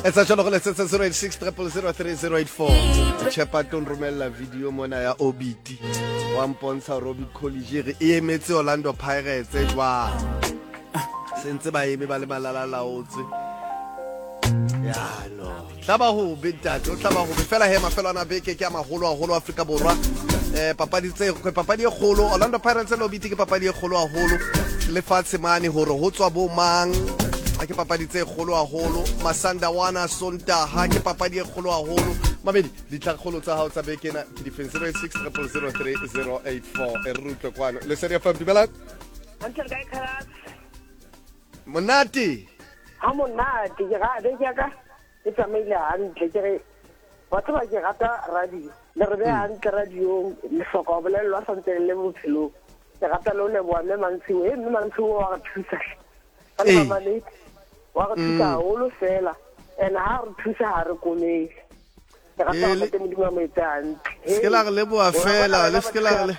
Etsa jalo go letsetsa 086 0003084. Chepa tlo nromella video mona ya Obiti. Wa mpontsha hore Orbit College re e emetse Orlando Pirates jwang. Sentse ba eme ba le malalalaotse. Ya no. Tla ba hobe ntate, o tla ba hobe fela he mafelo ana beke ke a maholo haholo Afrika Borwa. Eh papadi tse papadi e kgolo Orlando Pirates le Obiti ke papadi e kgolo haholo lefatshe mane hore ho tswa bo mang ke papadi tse kgolo haholo Masandawana Sontaha ke papadi e kgolo haholo mabedi ditlhakgolo tsa hao tsa beke ena ke difeng 086 0003084 e re utlwe kwano Lesedi FM dumelang. Hantle kae Khalas? Monate. Ha monate ke ga beke ya ka e tsamaile hantle ke re wa tseba ke rata radio le re beya hantle radiong le hloka ho bolellwa santse le le bophelong ke rata le ho leboha mme Mantshiwo e mme Mantshiwo wa re thusa hle ka le mamaledi wa re thusa haholo fela and ha re thusa ha re komele ke rata gore Ntate Modimo a mo etse hantle se ke la re leboha fela le se ke la re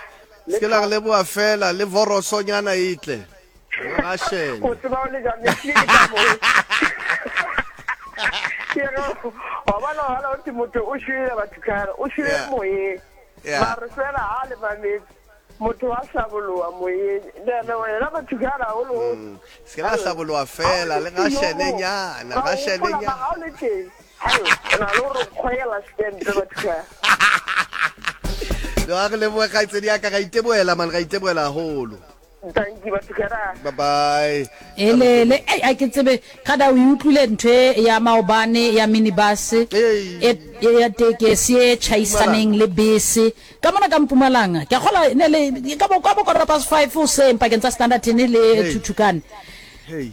se ke la re leboha fela le vorosonyana e tle Rashene. O tseba o le jang ne ke ka mo. Ke re wa bona hala o motho o shwele batho kana o shwele moyeng. Mare fela ha le mametse motho wa hlaboloha moyeng. Nene wena batho kana haholo. Se ke la hlaboloha fela le rashene nyana, rashene nyana. Ha o le teng. Hai, o na le gore kgwela stempe batho kana. No, a re lebohe kgaitsedi ya ka, ra itebohela man, ra itebohela haholo. Dankie batho kera. Bye bye. Elele, ei a ke tsebe kada o e utlwile ntho e ya maobane ya minibus e ya tekesi e tjhaisaneng le bese ka mona ka Mpumalanga. Ke a kgola ne le ka bo ka bo quarter past 5 hoseng pakeng tsa Standerton le Thuthukane.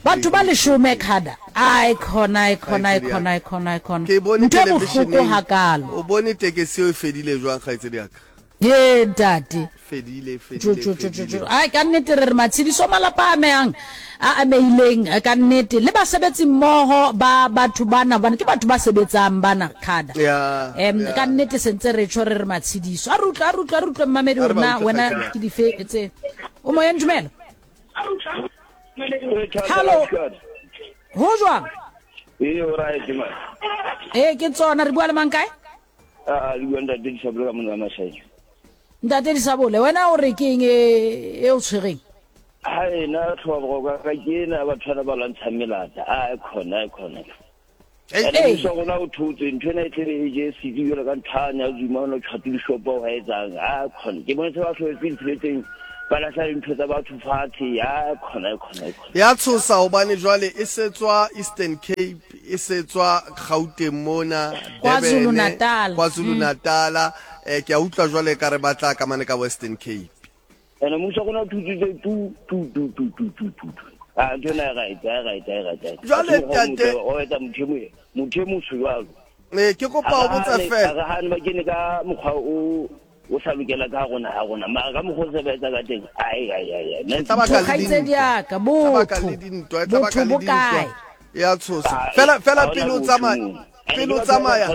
Batho ba leshome kada. Ai khona, ai khona, ai khona, ai khona, ai khona. Ke bone Ntho e bohloko television-eng. hakalo. O bone tekesi eo e fedile jwang kgaitsedi ya ka? Ee, ntate. Fedile, Jo, fedile, jo, jo, jo, jo. fedile. Ai, ka nnete re re matshediso malapa a amehang, a amehileng eh, ka nnete le basebetsi mmoho ba batho bana, hobane ke batho ba sebetsang bana khada. Ya, Em, ya. ka nnete sentse re tjho re re matshediso. A re utlwe, a re utlwe, a re utlwe mmamedi A re hore ba na utlwe wena kgaitsedi ya ke dife tse. O moyeng dumela. Hello. Ho jwang? Ee, o right man. Ee, ke tsona re bua le mang kae? A le bua ntate Disabole ka mona Mashaeng. Ntate Disabole, wena o re ke eng e e o tshwereng? Ha ena tlhoba boroko ka ke ena batho bana ba lwantshang melata. A e khona, e khona. Ene mmuso wa rona o thotse ntho ena e tlebe e je setsi jwalo ka nthane ya Zuma o ne o tjhwate dishopo wa etsang. A khona. Ke bone se ba hloletse ditsheletseng ba lahla dintho tsa batho fatshe. A khona, e khona, e khona. Ya tshosa hobane jwale e setswa Eastern Cape e setswa Gauteng mona, KwaZulu Durban, Natal. KwaZulu Natal. Eh, ke a utlwa jwale ka re ba tla ka mane ka Western Cape. Ene mmuso wa rona o thutsitse tu tu tu tu tu tu tu tu. Ah, ntho ena e right, e right, e right. e right. Jwale, Ha se mokgwa o ntate- motle, o etsa motho e mo- motho e motsho jwalo. Eh, ke kopa o botsa Ha re fela. hane ba kene ka mokgwa o o sa lokela ka rona ha rona mara ka mokgwa o se ba etsa ka teng ai ai ai ai E tla baka le Kgaitsedi dintwa. ya ka, E tla baka botho. le dintwa, e tla baka Botho le bo dintwa. kae? Ya tshosa. Fela fela pele o tsamaya, pele o tsamaya.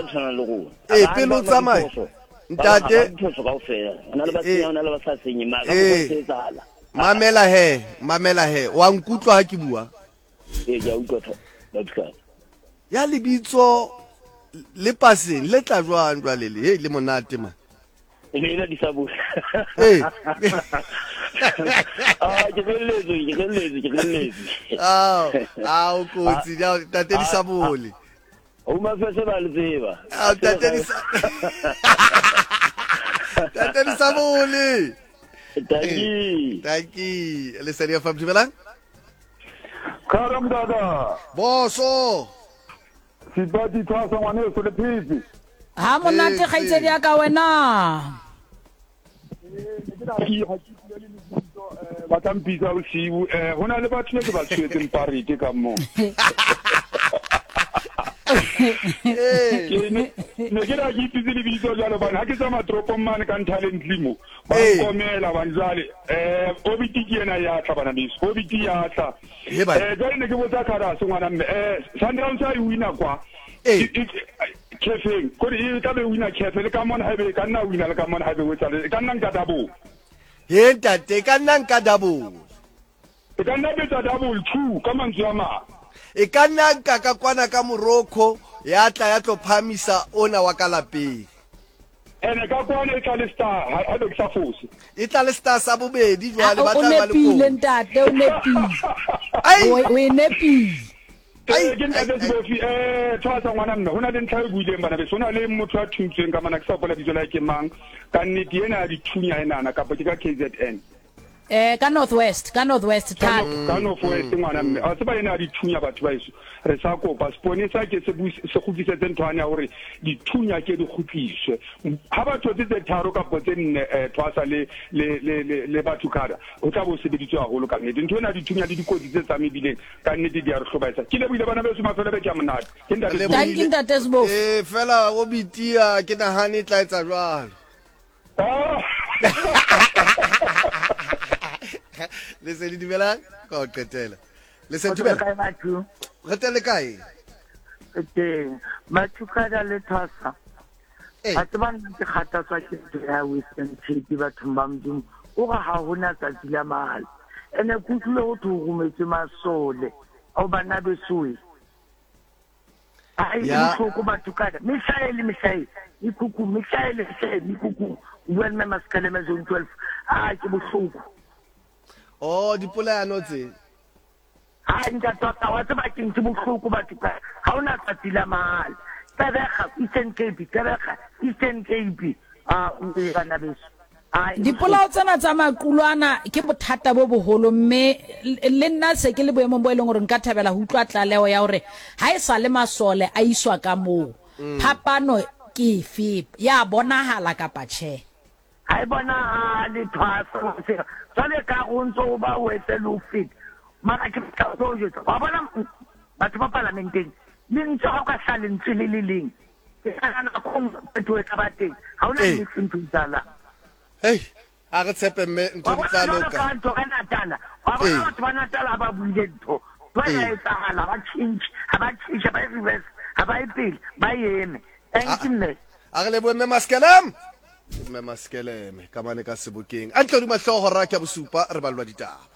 Ee, pele o tsamaya. Ntate diphoso kaofela ho na le ba senyang ho na le ba sa senyeng mara ka mokgwa o se etsahala Mamela he, mamela he. Wa nkutlwa ha ke bua? Ee, ke a utlwa Babuhlane. Ya lebitso le paseng le tla jwang jwale le? Hei le monate man. E ne ena disabole. Ee. Ah, ke felletswe, ke felletswe, ke felletswe. Ao, ao kotsi, ja tate disabole. Home Affairs ba le tseba. Ao tate disa. Tate disabole. Dankie. Dankie. Lesedi FM dumelang. Kara mdada. Boso. Sebati thwasa ngwaneso le phetse. Ha monate kgaitsedi ya ka wena. Ba tla mpitsa bosiu eh ho na le batho be ke ba tshwetseng parete ka mo. Ke ne ne ke ra ke ipitse lebitso jwalo bana ha ke tsamaya toropong mane ka Nthaleng mo ba nkomela bane jwale eh Obiti ke yena ya tla bana beso Obiti ya tla Eh, jwale ne ke botsa Kharase ngwana mme eh Sundowns a e wina kwa Kefeng kore e tla be wina Kefe le ka mona haebe e ka nna wina le ka mona haebe o etsa e ka nna nka double. He ntate e ka nna nka double. E ka nna betsa double two ka mantswe a mang. E ka nna nka ka kwana ka Morocco Ya tla ya tlo phahamisa ona wa ka lapeng. Ene ka kwana e tla le star, ha ha be ke sa fose. E tla le star sa bobedi jwale ba O tla ba le nepile kotsi. ntate, o nepile. Ai! O o e nepile. Ai, Eh, ke ntate ai, ai. Sebofi, eh, tshwasa ngwana mme, ho na le ntlha e buileng bana beso, ho na le motho ya thuntsweng ka mana, ke sa hopola bitso la hae ke mang, ka nnete ena ya dithunya enana, kapa ke ka KZN. Eh, ka North West, ka North West Ka thata. Ka North West ngwana mme, a tseba ena ya dithunya batho ba heso, re sa kopa seponesa ke se se kgutlisetse nthwane ya hore dithunya ke di kgutliswe. Ha ba thotse tse tharo kapo tse nne eh, thwasa le le le le, le batho kada, ho tla bo sebeditswe haholo ka nnete. Ntho ena ya dithunya le dikotsi tse tsa mebileng ka nnete di a re hlobaetsa. Ke lebohile bana beso, mafelo a beke a monate. Ke ntate Re Sebofi. Thank you ntate Sebofi. Eh, fela o bitia ke nahane e tla etsa jwalo. Ah. Lesedi dumelang ka ho qetela. Lesedi Kgotso le dumela. kae batho? Re teng le kae? Re teng. Mathukada le Thwasa. Ee. Wa tseba nna ke kgathatswa ke ntho ya Western Cape bathong ba Modimo. O re ha hona tsatsi la mahala. Ene ke utlwile ho thwe ho rometswe masole ao bana besoe. Ai e Ya. bohloko batho kada. Mehla e le mehla e mekhukhung, mehla e le mehla e mekhukhung. O bua le Mme Maskaleme Zone 12. Ah ke bohloko. Oh, dipolayano tse. Hai ntate wa ka wa tseba keng ke bohloko batho ka ha hona tsatsi la mahala. Tsebega Eastern Cape, Tsebega Eastern Cape. Ah o bana beso. Ai e Dipolao bohloko. tsena tsa maqulwana ke bothata bo boholo mme le nna se ke le boemong bo e leng hore nka thabela ho utlwa tlaleho ya hore ha e sa le masole a iswa ka moo, phapano ke efe, ya bonahala kapa tjhe. Ha e bonahale thwaso sena. Jwale ka re o ntso o ba wetse le ho feta. Mara ke batla ho tlo o jwetsa. Wa bona batho ba palamenteng, lentswe ha o ka hlaha lentswe le le leng, ke nahana nako e nngwe phetoho e tla ba teng. Ha hona Ee. niks ntho e etsahalang. Hei, a re tshepe mme ntho Wa di bona tla jwalo loka. ka ntho ka Natala. Wa bona Ee. batho ba Natala ha ba buile ntho, ntho ya Ee. etsahala, ha ba tjhentjhe, ha ba tjhentjhe, ha ba e reverse, ha ba ye pele, ba eme. Thank you mme. A re lebohe mme Maskelem. Ke mme Maskeleme ka mane ka sebokeng. A ntle hodima hlooho hora ke ya bosupa re ballwa ditaba.